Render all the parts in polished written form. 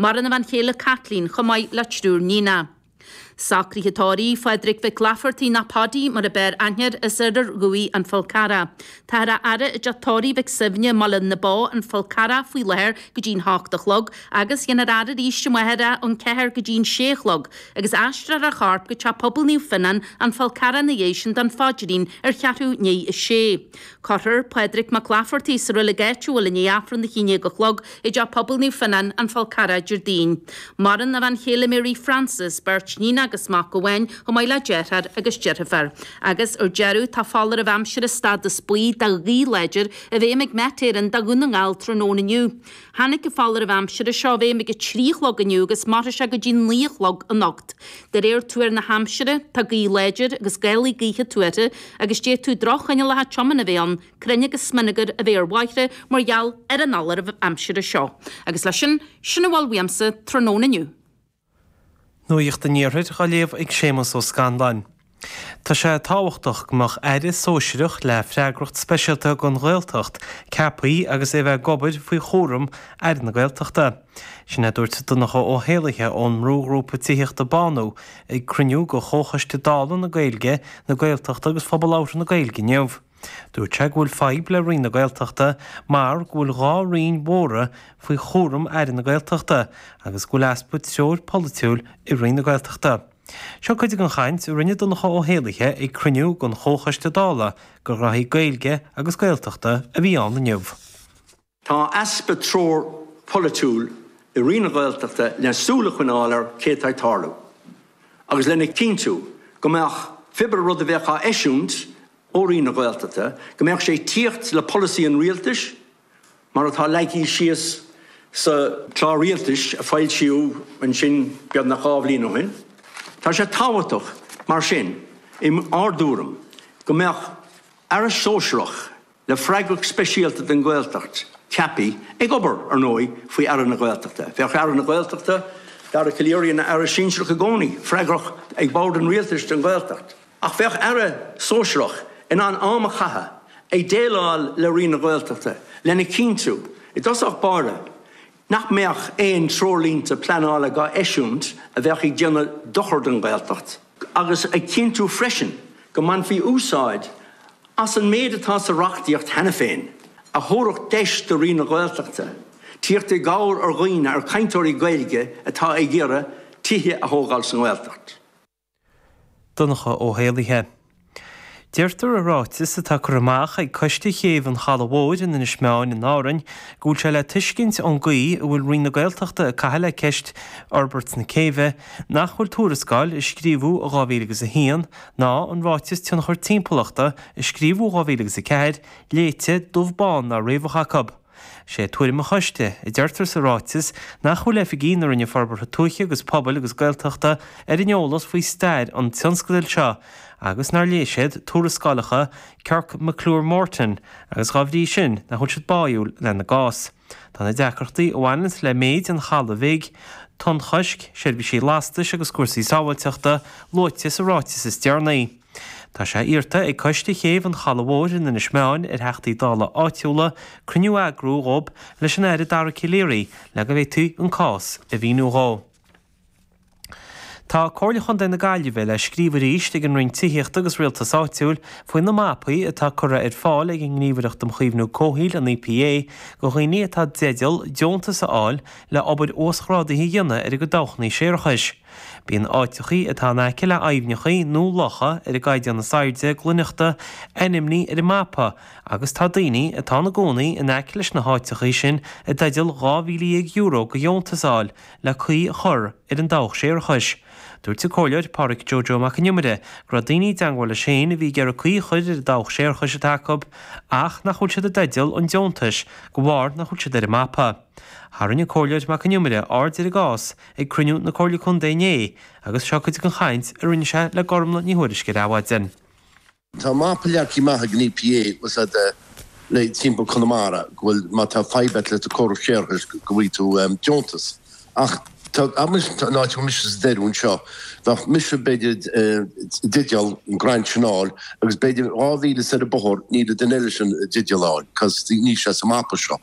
Maireann a bhean chéile Caitlín chomh maith le triúr níonacha. Socruithe tórraimh Phádraig Mhic Laifeartaigh nó Paddy mar a b'fhearr aithne air as Iarthar Dhuibhigh, An Fál Carrach. Táthar á fhaire i dteach tórraimh Mhic Suibhne i mBaile na Bó, An Fál Carrach faoi láthair go dtí'n hocht a chlog agus dhéanfar faire arís amárach ón ceathair go dtí'n sé a chlog agus aistreofar a chorp go Teach Pobail Naomh Fionnán, An Fál Carrach ina dhiaidh sin don phaidrín ar cheathrú ndiaidh a sé. Cuirfear Pádraig Mac Laifeartaigh sa reilig áitiúil i ndiaidh Aifreann a 11 a chlog i dTeach Pobail Naomh Fionnán, An Fál Carrach, Déardaoin. Maireann a bhean chéile Mary Frances, beirt níon agus mac amháin, chomh maith le deartháir agus deirfiúr. Agus, ar deireadh, tá foláireamh aimsire stádas buí do ghaoth láidir i bhfeidhm ag Met Éireann do Dhún na nGall tráthnóna inniu. Tháinig an foláireamh aimsire seo i bhfeidhm ag a 3 a chlog inniu agus mairfidh sé go dtí 9 a chlog anocht. De réir tuar na haimsire, tá gaoth láidir agus gálaí gaoithe tuartha agus d'fhéadfadh droch-choinníollacha tiomána a bheith ann, crainn agus smionagar a bheith ar bhóithre mar gheall ar an fholáireamh aimsire seo. Agus leis sin, sin a bhfuil uaimse tráthnóna inniu. Nuacht an Iarthair á léamh ag Séamus Ó Scanláin. Tá sé tábhachtach go mbeadh Aire sóisearach le freagracht speisialta don Ghaeltacht ceaptha agus é a bheith ag obair faoi chúram Aire na Gaeltachta. Sin é a dúirt Donncha Ó hÉallaithe ón mbrúghrúpa tithíochta Bánú ag cruinniú de Chomhchoiste Dála na Gaeilge, na Gaeltachta agus Phobal Labhartha na Gaeilge inniu. Dúirt sé go bhfuil fadhb le Roinn na Gaeltachta mar go bhfuil 2 roinn mhóra faoi chúram Aire na Gaeltachta agus go bhfuil easpa treoir polaitiúil i Roinn na Gaeltachta. Seo cuid den chaint a rinne Donncha Ó hÉallaithe ag cruinniú den Chomhchoiste Dála do ghnoithí Gaeilge agus Gaeltachta a bhí ann inniu. Tá easpa treoir pholaitiúil i Roinn na Gaeltachta le súil a choinneáil ar cé atá ag tarlú agus lena chinntiú go mbeadh pé rud a bheadh á eisiúint ó Roinn na Gaeltachta, go mbeadh sé ag tíocht le polasaí an Rialtais mar atá leagtha síos sa Chlár Rialtais a foilsíodh ansin beagnach 2 bhliain ó shin. Tá sé tábhachtach mar sin, i ár dtuairim, go mbeadh Aire Sóisearach le freagracht speisialta don Ghaeltacht ceaptha, ag obair, ar ndóigh, faoi Aire na Gaeltachta. Bheadh Aire na Gaeltachta, Dara Calleary, ina Aire Sinsearach i gcónaí, freagrach ag Bord an Rialtais don Ghaeltacht. Ach bheadh Aire Sóisearach in ann am a chaitheamh ag déileáil le Roinn na Gaeltachta lena chinntiú, i dtosach báire, nach mbeadh aon treoirlínte pleanála dhá eisiúint a bheadh ag déanamh dochar don Ghaeltacht, agus ag cinntiú freisin go mbainfí úsáid as an méid atá sa reachtaíocht cheana féin a thabharfadh deis do Roinn na Gaeltachta tíocht i gcabhair ar dhaoine, ar chainteoirí Gaeilge atá ag iarraidh tithe a thógáil sa nGaeltacht. Donncha Ó hÉallaithe. Deirtear i ráiteas atá curtha amach ag Coiste Chéibh an Chalaidh Mhóir in Inis Meáin in Árainn go bhfuil sé le tuiscint ón gcaoi a bhfuil Roinn na Gaeltachta ag caitheamh le ceist fhorbairt na céibhe nach bhfuil tuarascáil a scríobhadh i 2001 ná an Ráiteas Tionchar Timpeallachta a scríobhadh i 2004 léite dubh bán ná riabhach acu. Sé tuairim an choiste, a deirtear sa ráiteas, nach bhfuil oifigigh na Roinne Forbartha Tuaithe agus Pobail agus Gaeltachta ar an eolas faoi stair an tionscadail seo agus nár léigh siad tuarascálacha Kirk McClure Morton agus dhá bhrí sin nach bhfuil siad báúil lena gcás. Tá na deacrachtaí a bhaineanns le méid an chalaidh bhig, tonnchoisc, seirbhísí lastais agus cúrsaí sábháilteachta luaite sa ráiteas is deireanaí. Tá sé iarrta ag Coiste Chéibh an Chalaidh Mhóir in Inis Meáin ar Theachtaí Dála áitiúla cruinniú a eagrú dhób leis an Aire Dara Calleary le go bhféadfaí an cás a mhíniú dhó. Tá Comhairle Chontae na Gaillimhe le scríobh arís ag an Roinn Tithíochta agus Rialtais Áitiúil faoi na mapaí atá curtha ar fáil ag an nGníomhaireacht um Chaomhnú Comhshaoil, an EPA, do dhaoine atá i dteideal deontas a fháil le obair uasghrádaithe a dhéanamh ar a gcuid dabhchanna séarachais. Bíonn áiteachaí atá in aice le aibhneachaí nó locha ar an gcaighdeán is airde glaineachta ainmnithe ar an mapa agus tá daoine atá ina gcónaí in aice leis na háiteachaí sin i dteideal €12,000 de dheontas a fháil le caoi a chur ar an dabhach séarachais. Dúirt an Comhairleoir Pádhraic Joe Joe Mac an Iomaire go raibh daoine i dteangmháil leis féin a bhí ag iarraidh caoi a chur ar an dabhach séarachais atá acu ach nach bhfuil siad i dteideal an deontais de bharr nach bhfuil siad ar an mapa. Tharraing an Comhairleoir Mac an Iomaire aird ar an gcás ag cruinniú na Comhairle Contae inné agus seo cuid den chaint a rinne sé le Gormlaith Ní Thuairisg ar Adhmhaidin. Tá mapa leagtha amach ag an EPA bhfuil le timpeall Conamara go bhfuil má tá fadhb agat le do córas séarachais go bhfaighidh tú deontas ach. Tá, abair, an áit a bhfuil mise sa deireadh anseo, bheadh mise b'fhéidir i dteideal an grant sin a fháil agus b'fhéidir 2,000 soir an bóthar níl an duine eile sin i dteideal a fháil cos níl sé sa mapa seo.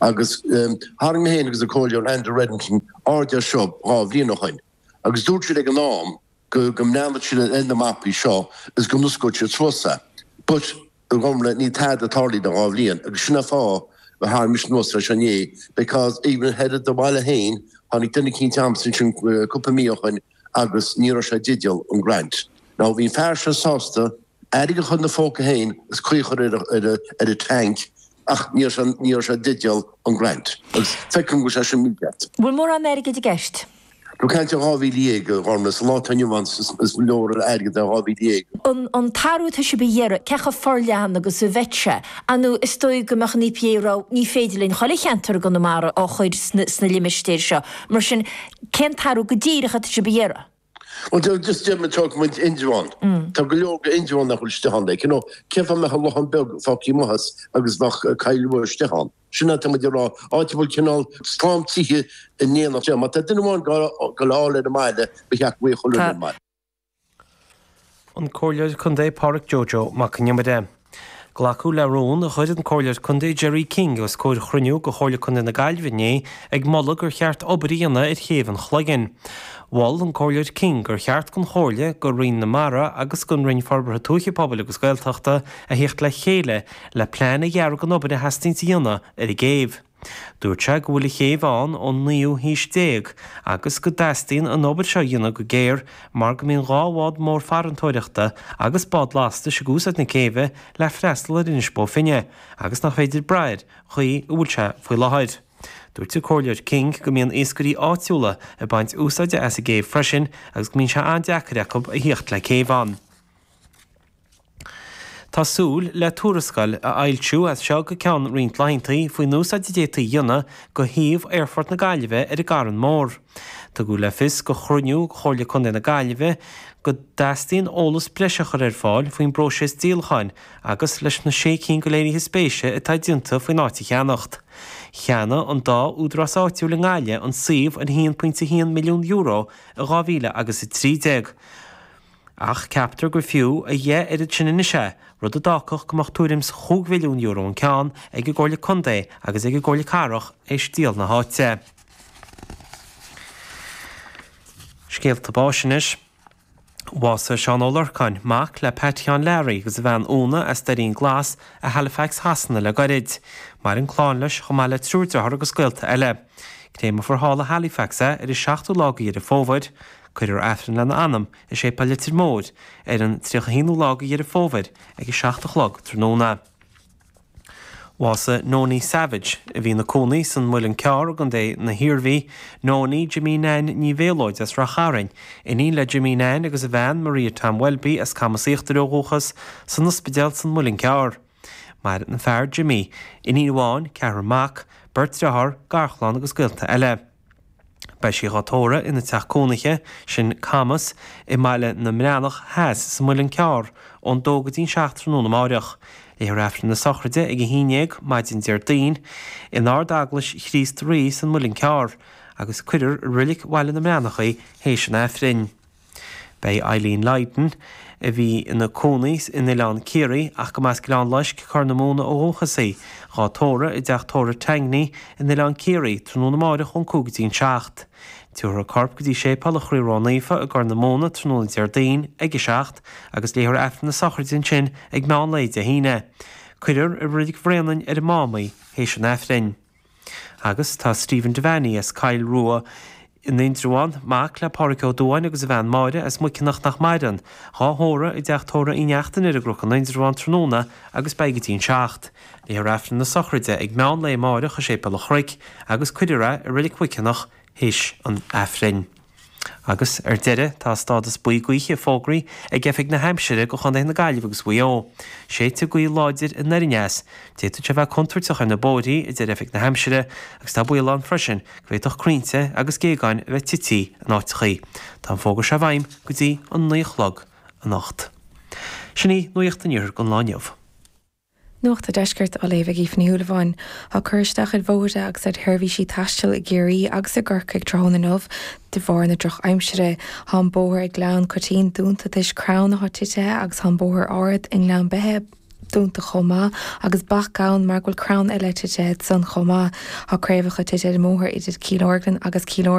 Agus tharraing mé féin agus an Comhairleoir Andrew Reddington aird air seo 2 bhliain ó shoin agus dúirt siad ag an am go go mbreathnódh siad ar na mapaí seo is go n-osclódh siad suas é. But a Ghormfhlaith, níl tada tarlaithe le 2 bhliain agus sin an fáth a tharraing mise anuas é seo inné because even thoir i do bhaile féin tháinig duine eicínt agamsa ansin cúpla mí ó shoin agus ní raibh sé i dteideal an grant. Now bhí an fear seo sásta airgead a chur ina phóca féin is caoi a chur ar ar an tank ach ní raibh sé ní raibh sé i dteideal an grant agus feicim go bhfuil sé sin mícheart. Bhfuil mórán airgid i gceist? Tá caint ar 12,000, a Ghormfhlaith, sa lá atá inniu ann is leor airgead é 12,000. An t-athrú atá sibh a iarraidh, cé chomh forleathan agus a bheidh sé? Ar ndóigh, is dóigh go mbeadh an EPA ag rá, ní féidir linn chuile cheantar i gConamara a chur sna limistéir seo. Mar sin, cén t-athrú go díreach atá sibh a iarraidh? Bhuel, just deir muid, tógfaidh muid Indreabhán. Tá go leor de Indreabhán nach bhfuil istigh ann. Like, you know, cén fáth a mbeadh an Lochán Beag fágtha amuigh as agus bheadh Coill Rua istigh ann? Sin atá muid ag rá, áit a bhfuil cineál slám tithe in éineacht. Má tá duine amháin ag gabháil a fháil ar an mbaile, ba cheart go bhfaigheadh chuile dhuine an baile. An Comhairleoir Contae Pádhraic Joe Joe Mac an Iomaire. Glacadh le rún a chuir an Comhairleoir Contae Gerry King os comhair chruinniú de Chomhairle Contae na Gaillimhe inné ag moladh gur cheart obair a dhéanamh ar chéibh an Chloiginn. Mhol an Comhairleoir King gur cheart don Chomhairle, do Roinn na Mara agus don Roinn Forbartha Tuaithe Pobail agus Gaeltachta a theacht le chéile le plean a dhearadh don obair a theastaíonns a dhéanamh ar an gcéibh. Dúirt sé go bhfuil an chéibh ann ón naoú haois déag agus go dteastaíonn an obair seo a dhéanamh go géar mar go mbíonn 2 bhád mór farantóireachta agus bád lastais ag úsáid na céibhe le freastal ar Inis Bó Finne agus nach féidir brath air chaoi a bhfuil sé faoi láthair. Dúirt an Comhairleoir King go mbíonn iascairí áitiúla ag baint úsáide as an gcéibh freisin agus go mbíonn sé an-deacair acu a thíocht le céibh ann. Tá súil le tuarascáil a fhoilsiú as seo go ceann roinnt laethanta faoin úsáid a d'fhéadfaí a dhéanamh de shuíomh Aerfort na Gaillimhe ar an gCarn Mór. Tugadh le fios ag cruinniú Chomhairle Contae na Gaillimhe go dteastaíonn eolas breise a chur ar fáil faoin bpróiseas díolacháin agus leis na sé cinn de léirithe spéise atá déanta faoin áit a cheannacht. Cheannaigh an dá údarás áitiúil i nGaillimh an suíomh ar €1.1 milliún i 2000 agus 13. Ach ceaptar gur fiú a dheich oiread sin anois é, rud a d'fhágfadh go mbeadh tuairim 's chúig mhilliún euro an ceann ag an gComhairle Contae agus ag an gComhairle Cathrach théis díol na háite. Scéalta báis anois. Bhásaigh Seán Ó Lorcáin, mac le Pat Sheáin Learaí agus a bhean Úna as Doirín Glas i Halifax Shasana le gairid. Maireann clann leis chomh maith le triúr dearthár agus gaolta eile. Créamfar thall i Halifax é ar an seachtú lá de Dheireadh Fómhair. Cuirfear Aifreann lena anam i Séipéal Leitir Móir ar an 31ú lá de Dheireadh Fómhair ag 7 a chlog tráthnóna. Bhásaigh Nonie Savage, a bhí ina cónaí san Muileann Cearr i gContae na hIarmhí, Nonie Jimí Nan Ní Mhéalóid as Rath Chairn, iníon le Jimí Nan agus a bhean Maria Tom Welby as Camas Íochtair ó dhúchas, san ospidéal san Muileann Cearr. Maireann a fear Jimí, iníon amháin, ceathrar mac, beirt dearthár, garchlann agus gaolta eile. Beidh sí dhá tórramh ina teach cónaithe, sin Camas, i mBaile na mBreathnach Theas sa Muileann Cearr, ón dó go dtí'n 7 tráthnóna amáireach. Léifear Aifreann na sochraide ag a haon dhéag maidin Déardaoin in Ard-Eaglais Chríost Rí san Muileann Cearr, agus cuirfear i Roilic Bhaile na mBreathnach í théis an Aifrinn. Beidh Eileen Lydon, a bhí ina cónaí in Oileán Ciarraí ach go mb'as Gleann Loisc, Corr na Móna ó dhúchas í, dhá tórramh i dteach tórraimh Tangney in Oileán Ciarraí tráthnóna amáireach ón 5 go dtí an 7. Tabharfar a corp go dtí Séipéal an Chroí Ró-Naofa i gCorr na Móna tráthnóna Déardaoin ag a 7 agus léifear Aifreann na sochraide ansin ag meán lae Dé hAoine. Cuirfear i Reilig Bhréanainn ar an Mám í théis an Aifrinn. Agus tá Stephen Devaney as Coill Rua in Indreabhán, mac le Pádhraic Ó Dubháin agus a bhean Máire as Muiceanach nach maireann, dhá thórramh i dteach tórraimh Uí Neachtain ar an gCnoc in Indreabhán tráthnóna agus beidh go dtí an 7. Léifear Aifreann na sochraide ag meán lae amáireach i Séipéal an Chnoic agus cuirfear é i Reilig Mhuiceanach théis an Aifrinn. Agus, ar deireadh, tá stádas buí gaoithe fógraithe ag Oifig na hAimsire do chontaetha na Gaillimhe agus Mhaigh Eo. Séidfidh gaoth láidir anoir aneas. D'fhéadfadh sé bheith contúirteach ar na bóithrí, a deir Oifig na hAimsire, agus tá baol ann freisin go bhféadfadh crainnte agus géagáin a bheith tití in áiteachaí. Tá an fógra seo i bhfeidhm go dtí an 9 a chlog anocht. Sin í Nuacht an Iarthair don lá inniu. Nuacht an Deiscirt á léamh ag Aoife Ní Shúilleabháin. Tá cur isteach ar bhóithre agus ar sheirbhísí taistil i gCiarraí agus i gCorcaigh tráthnóna inniu de bharr na drochaimsire. Tá an bóthar ag Gleann Coitín dúnta toisc crann atá titithe agus tá an bóthar ard i nGleann Beithe dúnta chomh maith agus bac ann mar go bhfuil crann eile titithe ansan chomh maith. Tá craobhacha tite ar an mbóthar idir Cill Orglan agus Cill.